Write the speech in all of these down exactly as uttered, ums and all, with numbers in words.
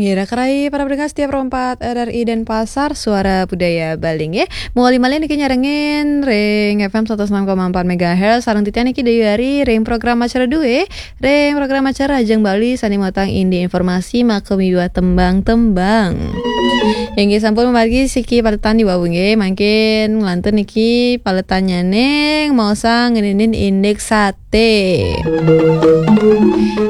Ira kerai para pendengar setia Pro empat R R I Denpasar, Suara Budaya Bali nggih. Mawali malih niki nyarengin ring F M seratus enam koma empat megahertz, sareng titiang niki Dewi Ari, ring program acara due, ring program acara Rahajeng Bali sane mautang indik informasi maka miwah tembang-tembang. Inggih sampun mamargi siki paletan di wau nggih, mangkin nglantur niki paletannyane maosang ngeninin indik sate.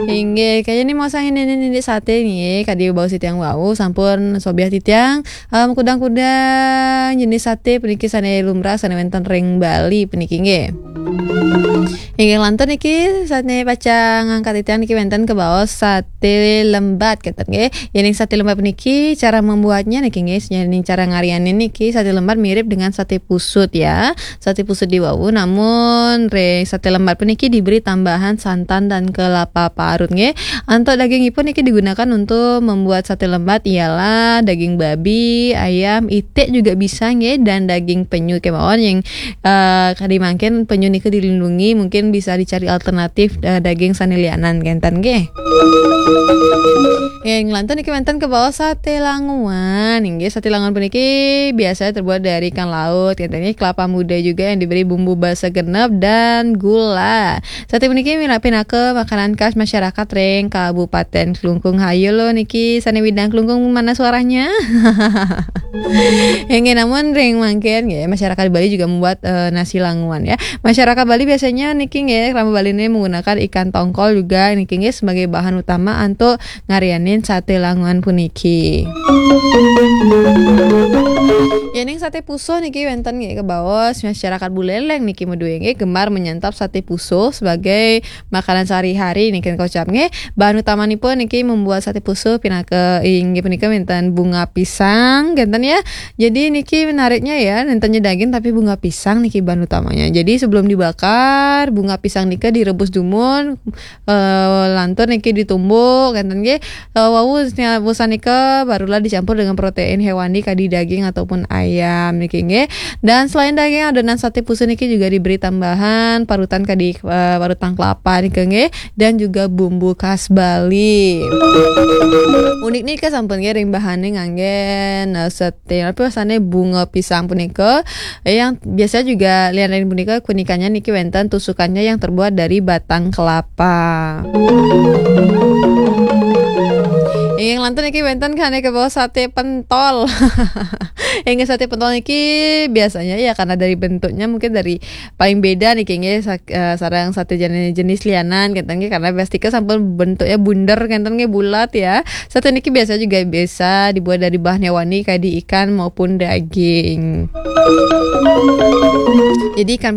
Inggih, kayaknya maosang ngeninin indik sate nggih, kadi baos titiang wau sampun sobiah titiang, em, kudang-kudang jenis sate puniki sane lumrah sane wenten ring Bali puniki nggih. Inggih lantur niki sane pacang ngangkat titiang niki wenten kebaos sate lembat kenten nggih. Yening sate lembat puniki cara membuatnya niki nggih, yening cara ngarianin niki sate lembat mirip dengan sate pusut ya. Sate pusut di wau, namun ring sate lembat puniki diberi tambahan santan dan kelapa parut nggih. Antuk dagingipun niki digunakan untuk membuat sate lembat ialah daging babi, ayam, itik juga bisa nggih, dan daging penyu kemawon yang eh, kadi mangkin penyu nika dilindungi, mungkin bisa dicari alternatif eh, daging sane lianan kenten nggih. Nggih, nglantur niki wenten kebaos sate languan. Inggih, sate languan puniki biasanya terbuat dari ikan laut, kenten nggih, kelapa muda juga yang diberi bumbu basa genep dan gula. Sate puniki mina-, pinaka makanan khas masyarakat ring Kabupaten Klungkung. Hayu lo niki sane widang Klungkung, mana suaranya? Inggih, namun ring mangkin nggih, masyarakat Bali juga membuat eh, nasi languan ya. Masyarakat Bali biasanya niki nggih, krama Bali ini menggunakan ikan tongkol juga niki nggih sebagai bahan utama antuk ngarianin sate languan puniki. Yening sate pusuh niki wenten nggih kebaos masyarakat Buleleng niki madue nggih gemar menyantap sate pusuh sebagai makanan sehari-hari niki kocap nggih. Bahan utamanipun niki membuat sate pusuh pinaka inggih punika wenten bunga pisang kenten ya. Jadi niki menariknya ya, nentennya daging tapi bunga pisang niki bahan utamanya. Jadi sebelum dibakar, bunga pisang nika direbus dumun, eh, lantur niki ditumbuk kenten nggih. Eh, wau senia-, busan nika barulah dicampur dengan protein hewani kadi daging ataupun ayam niki nggih. Dan selain daging, adonan sate pusuh niki juga diberi tambahan parutan kadi eh, parutan kelapa nika nggih, dan juga bumbu khas Bali. Unik nika sampun nggih ring bahane nganggen eh, sate apa rasane bunga pisang punika. Eh, yang biasa juga lian ring punika kunikannya niki wenten tusukannya yang terbuat dari batang kelapa. Yang lantur niki wenten kane kebaos sate pentol. Yang sate pentol niki biasanya ya karena dari bentuknya mungkin dari paling beda niki nggih sa- eh, sareng sate jenis, jenis lianan kenten nggih karena plastiknya sampun bentuknya bunder kenten nggih bulat ya. Sate niki biasa juga bisa dibuat dari bahan hewani kadi ikan maupun daging. Jadi ikan